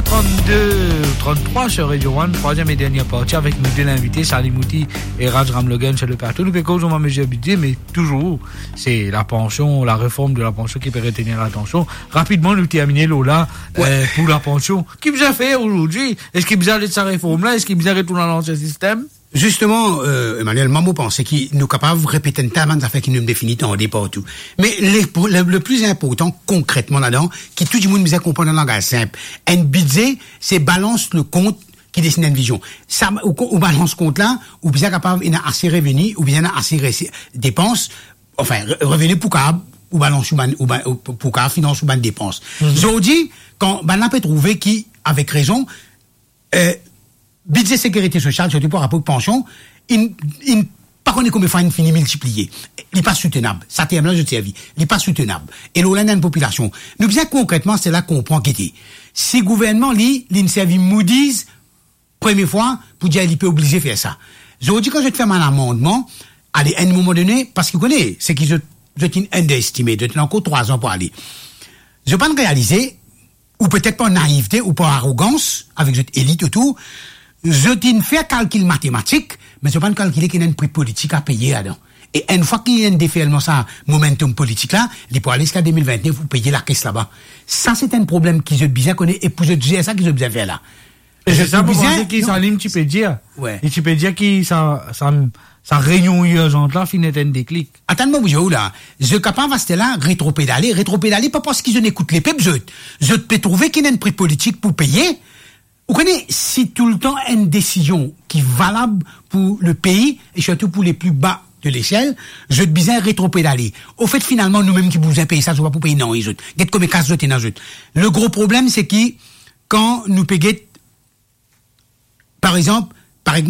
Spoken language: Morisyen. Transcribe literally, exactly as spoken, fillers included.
Trente-deux ou trente-trois sur Radio One, troisième et dernière partie avec nos deux invités, Salim Houti et Raj Ramlogan sur le plateau. Nou pe koz anba mezir bidze, me touzour, se lapansion, lareform de lapansion ki pe retenir latansion. Rapidman, nou termine, Lola, euh, pou lapansion. Ki bizin fer azordi? Eski bizin ale sa reform la? Eski bizin retourn dan lansien sistem? Zisteman, euh, Emmanuel, mwa, mo panse ki nou kapav repete enn ta bann zafer ki nou defini tande partou. Me le, le, le pli inportan konkretman ladan, ki tou dimoun bizin konpran dan langaz sinp, enn bidze, se balans le kont ki desinn enn vizion. Sa, ou, ou balans kont la, ou bizin kapav ena ase reveni, ou bizin ena ase resi-, depans, anfin, re-, reveni pou kapav, ou balans ou bann, ou bann, ou pou, pou kapav finans ou bann depans. Zordi, kan bann la pe trouve ki, avek rezon, euh, bidze sekirite sosial, sirtou par rapor pansion, inn, inn pa kone konbien fwa inn fini miltipliye. Li pa soutenab. Sa term la zot servi. Li pa soutenab. E lor la, ena enn popilasion. Nou bizin konkretman, se la konpran ki te. Si gouvernman, li, linn servi Moody's, premie fwa, pou dir li pe oblize fer sa. Zordi, kan zot fer bann amandman, ale, enn moman done, parski ou kone, seki zot, zot inn underestimate, zot ena ankor trwa zan pou ale. Zot pa'nn realize, ou petet par naivte ou par arogans avek zot elit otour, zot inn fer kalkil matematik, me zot pa'nn kalkile ki ena enn pri politik a peye ladan. E enn fwa ki ena enn deferlman sa momentum politik la, li pou ale ziska de mil vintnef, ou peye lakes laba. Sa se enn problem ki zot bizin kone e pou zot zer sa ki zot bizin fer la. E se sa mo panse ki Salim ti pe dir. Wi. Li ti pe dir ki sa, sa, sa reynion irzan la finn et enn deklik. Atann, mo pou dir ou la, zot kapav aster la retropedale, retropedale pa parski zot ekout lepep zot. Zot pe trouve ki ena enn pri politik pou peye. Ou kone, si toultan enn desizion ki valab pou lepei, e sirtou pou le pli ba de lesel, zot bizin retropedale. Anfet, finalman, nou mem ki pou bizin peye sa, zot pa pou peye nanye zot. Get konbien kas zot ena zot. Le gro problem, se ki kan nou pe get, par exanp,